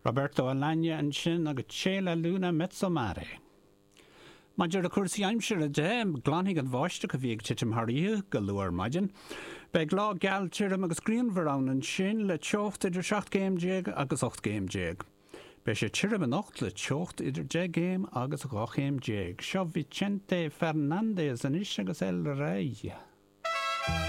Roberto Alagna ansin agus C'è la luna 'mezzo mare. Maidir le cúrsaí aimsire de, glanfaidh an bháisteach a bhí ag titim thar oíche go luath ar maidin. Beidh lá geal tirim agus grianmhar ann ansin le teocht idir 17 gcéim agus 18 gcéim. Beidh sé tirim anocht le teocht idir 10 gcéim agus 12 chéim. Seo Vicente Fernández anois agus El Rey.